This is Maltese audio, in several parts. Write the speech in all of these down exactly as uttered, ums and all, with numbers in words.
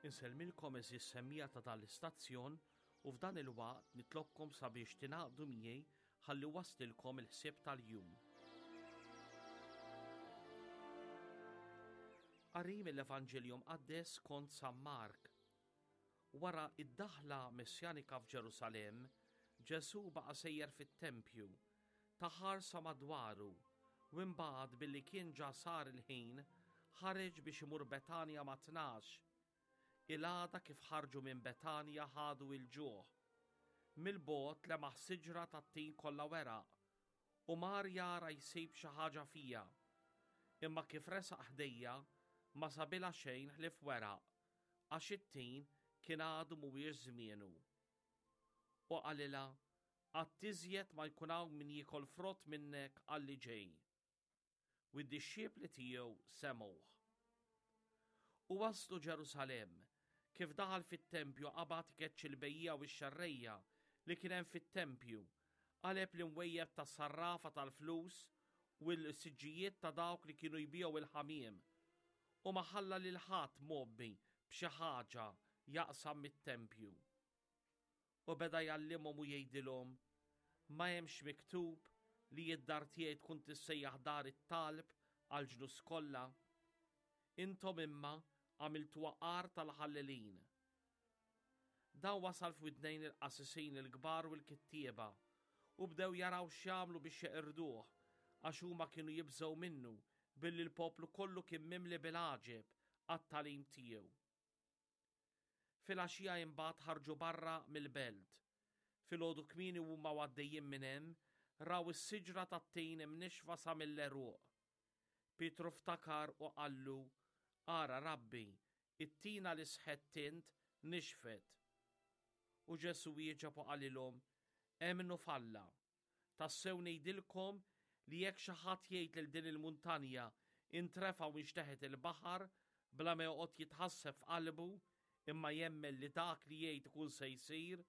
Insellmilkom għeżież semmiegħa ta' dan l-istazzjon u f'dan il-waqt nitlobkom sabiex tingħaqdu miegħi ħalli waslilkom il-ħsieb tal-jum. Qari mill-Evanġelju Mqaddes kont San Mark. Wara id-daħla messjanika f'Ġerusalemm, Ġesù baqa' sejjer fit-tempju, ta ħarsa madwaru, u imbagħad billi kien ġa sar il-ħin, ħareġ biex imur Betanja ma' tnax. Il-għada kif ħarġu minn Betanja ħadu il-ġuħ. Mill-bogħod lemaħ siġra tat-tin kollha weraq, u mar jara jsib xi ħaġa fiha. Imma kif resaq ħdejja, ma sabilha xejn ħlief weraq, għax it-tin kien għadu mhuwiex żmienu. U qalilha, qatt iżjed ma jkun hawn min jiekol frott minnek għal li ġej. U d-dixxipli tiegħu semgħuh. U waslu Ġerusalemm. Kif daħal fit-tempju qabad ikeċċi l-bejjiegħa u x-xerrejja li kien hemm fit-tempju, qaleb l-imwejjed tas-sarrafa tal-flus u l-siġġijiet ta' dawk li kienu jbigħu il-ħamiem, u ma ħalla lil ħadd mgħobbi b'xi ħaġa jaqsam mit-tempju. U beda jgħallimhom u jgħidilhom, ma hemmx miktub li d-dar tiegħi tkun tissejjaħ dar it-talb għall-ġnus kollha? Intom imma għamiltuha għar tal-ħallelin. Dan wasal f'widnejn il-qassisin il-kbar u l-kittieba u bdew jaraw x'jagħmlu biex jeqirduh, għax huma kienu jibżgħu minnu billi l-poplu kollu kien mimli bil-għaġeb għat-tagħlim tiegħu. Filgħaxija imbagħad ħarġu barra mill-belt. Filgħodu kmieni huma għaddejjin minn hemm, raw is-siġra tat-tin imnixfa sa mill-għeruq. Pietru ftakar u qallu, Ara Rabbi, it-tina li sħett int nixfet. U Ġesù wieġeb u qalilhom, Emmnu f'Alla. Tassew ngħidilkom li jekk xi ħadd jgħid lil din il-muntanja intrefa' u inxteħet il-baħar, bla ma joqgħod jitħasseb f'qalbu, imma jemmen li dak li jgħid ikun se jsir,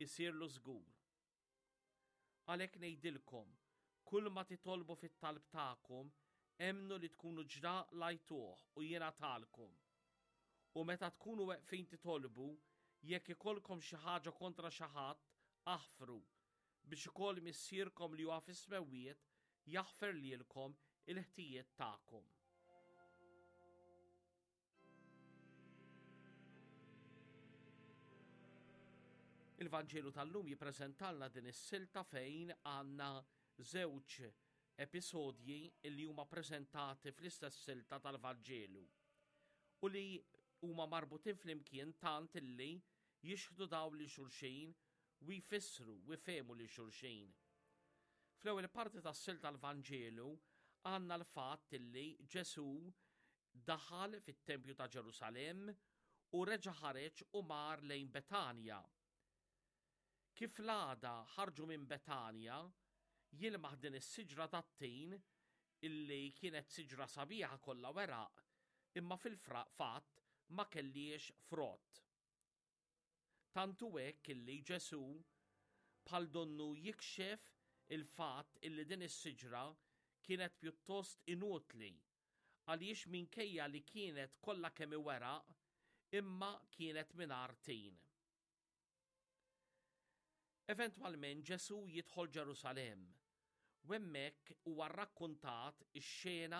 isirlu żgur. Għalhekk ngħidilkom, kull ma titolbu fit-talb tagħkom, emmnu li tkunu ġa qlajtuh u jingħatalkom. U meta tkunu weqfin titolbu, jekk ikollkom xi ħaġa kontra xi ħadd, aħfru, biex ukoll Missierkom li huwa fis-smewwiet jaħfer lilkom il-ħtijiet tagħkom. Il-Vanġelu tal-lum jippreżentalna din is-silta fejn għandna żewġ episodji li huma preżentati fl-istess silta tal-Vanġelu u li huma marbutin flimkien tant illi jixħdu daw li xulxin u jfissru u jfehmu li xulxin. Fl-ewwel parti tas-silta tal-Vanġelu għandna l-fatt illi Ġesù daħal fit-tempju ta' Ġerusalemm u reġa' ħareġ u mar lejn Betanja. Kif l-għada ħarġu minn Betanja, jilmaħ din is-siġra tat-tin illi kienet siġra sabiħa kollha weraq, imma fil-fatt ma kelliex frott. Tantu hekk illi Ġesù bħal donnu jikxef il-fatt illi din is-siġra kienet pjuttost inutli, għaliex minkejja li kienet kollha kemm weraq, imma kienet mingħajr tin. Eventwalment Ġesù jidħol Ġerusalemm, u hemmhekk huwa rrakkuntat ix-xena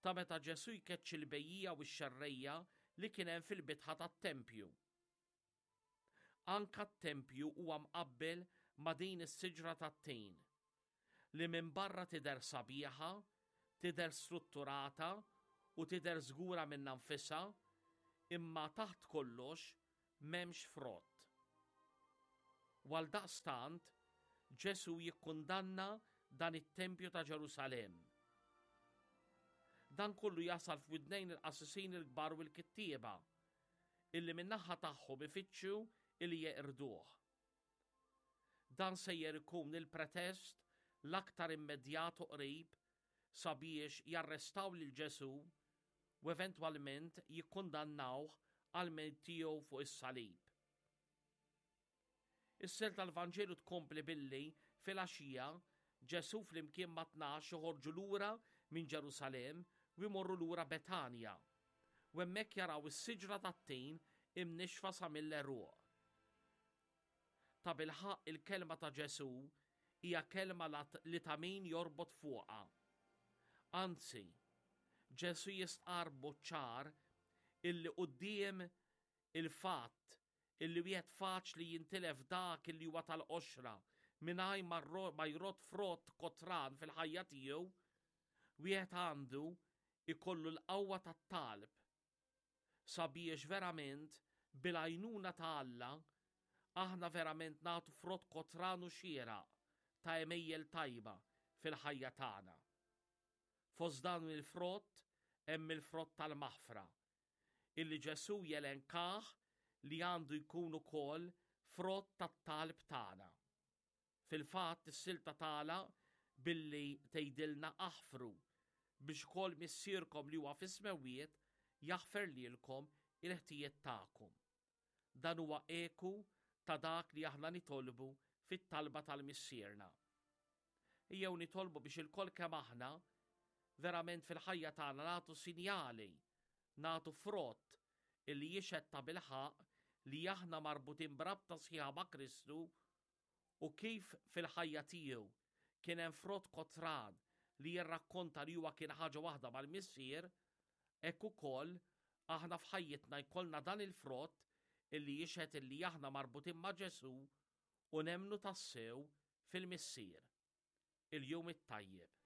ta' meta Ġesù jkeċċi l-bejjiegħa u x-xerrejja li kien hemm fil-bitħa tat-tempju. Anka t-tempju huwa mqabbel ma' din is-siġra tat-tin, li minn barra tidher sabiħa, tidher strutturata u tidher żgura minnha nfisha, imma taħt kollox m'hemmx frott. U għal daqstant, Ġesù jikkundanna dan it-tempju ta' Ġerusalemm. Dan kollu jasal f'widnejn il-qassisin il-kbar u l-kittieba, illi min-naħa tagħhom ifittxu illi jeqirduh. Dan sejjer ikun il-pretest l-aktar immedjat u qrib sabiex jarrestaw lil Ġesù u eventwalment jikkundannawh għal mewt tiegħu fuq is-salib. Is-silta tal-Vanġelu tkompli billi filgħaxija Ġesù flimkien ma' tnax joħorġu lura minn Ġerusalemm u jmorru lura Betanja. U hemmhekk jaraw is-siġra tat-tin imnixfa sa mill-għeruq. Tabilħaqq il-kelma ta' Ġesù hija kelma li ta' min jorbot fuqha. Anzi, Ġesù jistqarr ċar illi quddiem il-fatt illi wieħed faċli jintilef dak illi huwa tal-qoxra mingħajr ma jrodd frott kotran fil-ħajja tiegħu, wieħed għandu ikollu l-qawwa tat-talb sabiex verament bil-għajnuna ta' Alla aħna verament nagħtu frott kotran u xieraq ta' għemejjel tajba fil-ħajja tagħna. Fost dan il-frott hemm il-frott tal-maħfra, illi Ġesù jelenkah li għandu jkun ukoll frott tat-talb tagħna. Fil-fatt is-silta tagħlaq billi tgħidilna aħfru biex ukoll Missierkom li huwa fis-smewwiet jaħfer lilkom il-ħtijiet tagħkom. Dan huwa eku ta' dak li aħna nitolbu fit-talba tal-Missierna. Ejjew nitolbu biex ilkoll kemm aħna verament fil-ħajja tagħna nagħtu sinjali, nagħtu frott illi jixhed tabilħaqq li aħna marbutin b'rabta sħiħa ma' Kristu u kif fil-ħajja tiegħu kien hemm frott kotran li jirrakkonta li huwa kien ħaġa waħda mal-Missier, hekk ukoll aħna f'ħajjitna jkollna dan il-frott illi jixhed illi aħna marbutin ma' Ġesù u nemmnu tassew fil-Missier. Il-jum it-tajjeb.